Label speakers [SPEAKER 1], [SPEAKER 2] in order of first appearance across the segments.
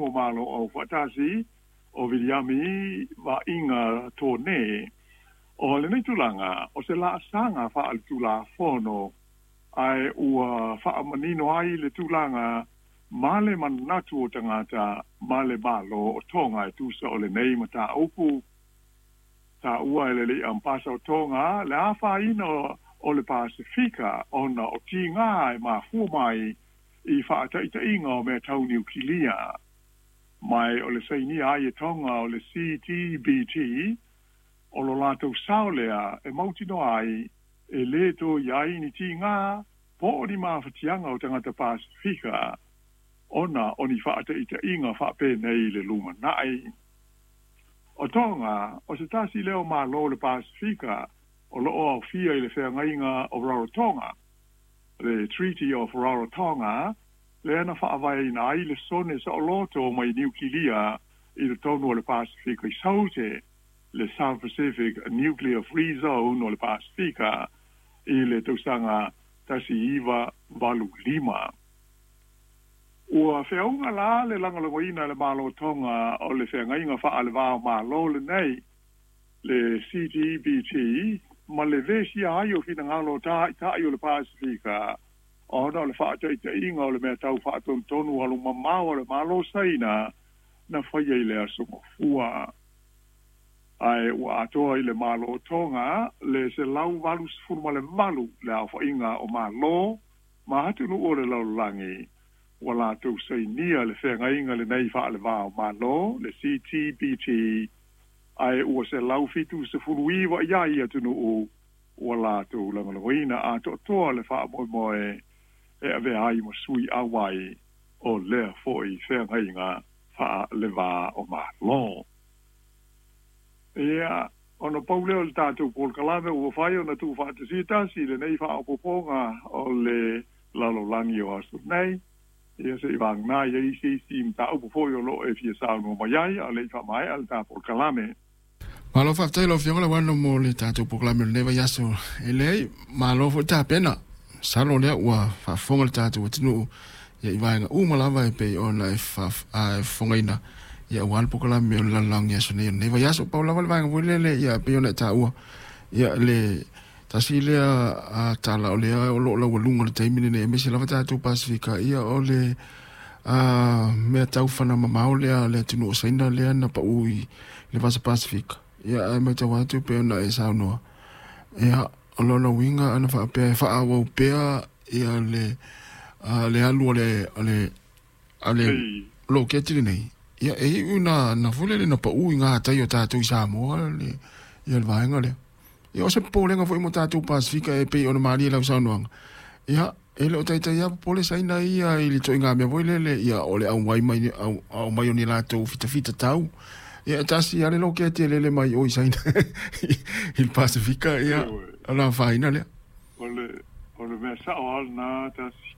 [SPEAKER 1] tonu o Malo Aufaatasi o Viliami Vaaiga Tone. O lenei tulaga, o se laasaga faaletulafono ae ua faamanino ai le tulaga ma le manatu o tagata ma le Malo o Toga e tusa o lenei mataupu. Taua e le alii Amepasa o Toga le afaina o le Pasefika ona o tiga e mafua mai i faataitaiga o mea tau niukilia. Ma o le sainia ai e Toga o le CTBT, o lo latou sao lea e mautinoa ai e lē toe i ai ni tiga po o ni mafatiaga o tagata Pasefika ona o ni faataitaiga faapenei i le lumanai. O Toga, o se tasi lea o Malo o le Pasefika o lo o aofia i le Feagaiga o Rarotonga, le Treaty of Rarotonga, lea na faavaeina ai le sone saoloto mai niukilia i totonu o le Pasefika i Saute, le South Pacific Nuclear Free Zone o le Pasefika i le tausaga 1985. Ua feauga la le lagolagoina e le Malo o Toga o le Feagaiga Faalevao Malo lenei, le CTBT, ma le vesia ai o finagalo o taitai o le Pasefika ona o le faataitaiga o le mea tau faatonutonu alumamao a le Malo o Saina na faia i le aso Gafua. Ae ua atoa i le Malo o Toga le 188 le aofaiga o Malo ma atunuu o le lalolagi ua latou sainia le feagaiga lenei faaleva o Malo, le CTBT, ae ua 179 i ai atunuu ua latou lagolagoina atoatoa le faamoemoe e avea ai ma sui auai o lea foi feagaiga faaleva o Malo. Ia, ona pau lea o le tatou polokalame ua fai ona tuufaatasia tasi lenei faaopoopoga o le lalolagi o aso nei. Ia se i vagana i ai se isi mataupu foi o lo o e fia saunoa mai ai, a o le i faamaea le ta polokalame.
[SPEAKER 2] Malo faafetai lau Afioga Lauano mo le tatou polokalame o lenei vaiaso. E leai, malo foi tapena. Masalo lea ua faafofoga le tatou atunuu ia i vaega uma lava e pei ona e faafofogaina ia aua le polokalame o le lalolagi aso nei o lenei vaiaso. Pau lava le vaega foi lele ia pei ona e taua ia le tasi lea tala o lea o lo o laualuga i le taimi lenei aemaise lava tatou Pasefika ia o le mea tau fana mamao lea le atunuu o Saina lea na pau i le Vasa Pasefika. Ia ae matau atu pei ona e saunoa. Ia o lona uiga ana faapea e faaauau pea ia le le alu o le o le a le loketi lenei. Ia e iu na na foi lele na pau i ngā tai o tātou i Samoa le ia le vaega lea. Ia o se popolega foi mo tātou Pasefika e pei ona malie lau saunoaga. Ia e le o taitai lava popole Saina ia i le ituaiga mea foi lele, ia o le auai mai au mai o ni latou fitafita tau. Ia e tasi lava le loketi e lele mai o i Saina i le Pasefika, ia ona afaina lea.
[SPEAKER 1] O le mea sao lava lena tasi,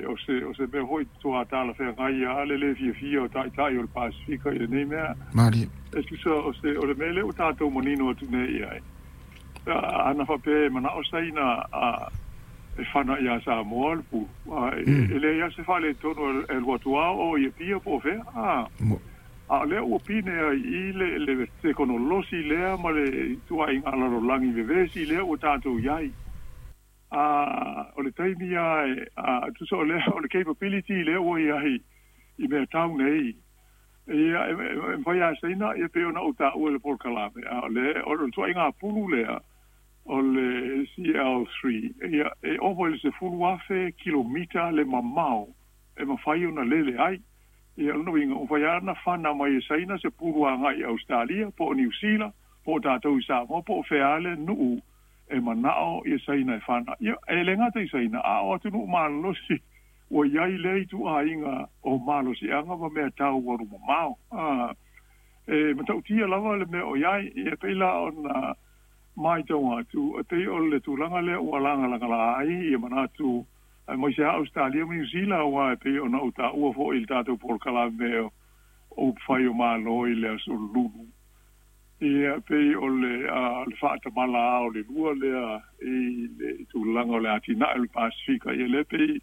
[SPEAKER 1] o se mea foi toa talafeagai lava le lē fiafia o taitai o le Pasefika i lenei mea.
[SPEAKER 2] Malie.
[SPEAKER 1] E tusa o le mea lea ua tatou manino atu nei i ai. Ana faapea e manao Saina e fana iā Samoa le pulu, e leai lava se faaletonu e alu atu lava o i Apia po o fea. A o lea ua pine ai i le tekonolosi lea ma le ituaiga lalolagi vevesi lea ua tatou i ai. O le taimi lava tusa o lea o le capability lea ua i ai i mea tau nei. Ia, e mafai lava e Saina, ia pei ona ou taua i le polokalame, a o le ituaiga pulu lea o le CL3, ia, e ova i le 10,000 kilomita le mamao e mafai ona lele ai. Ia, o lona uiga, ua mafai lava ona fana mai e Saina se pulu agai i Ausetalia, po o Niu Sila, po o tatou i Samoa, po o fea lava le nuu e manao ia Saina e fana. Ia, e le gata i Saina, a o atunuu malolosi ua i ai lea ituaiga o malosiaga ma mea tau alu mamao. E matautia lava le mea o i ai, ia pei la ona matau atu, e pei o le tulaga lea ua lagalagala ai ia manatu aemaise lava Ausetalia ma Niu Sila, aua e pei ona ou taua foi i le tatou polokalame o upufai o Malo i le aso Lulu. Ia pei o le faatamala o le lua lea i le tulaga o le atinae o le Pasefika, ia lea pei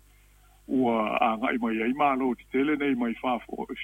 [SPEAKER 1] ua agai mai ai Malo tetele nei mai fafo.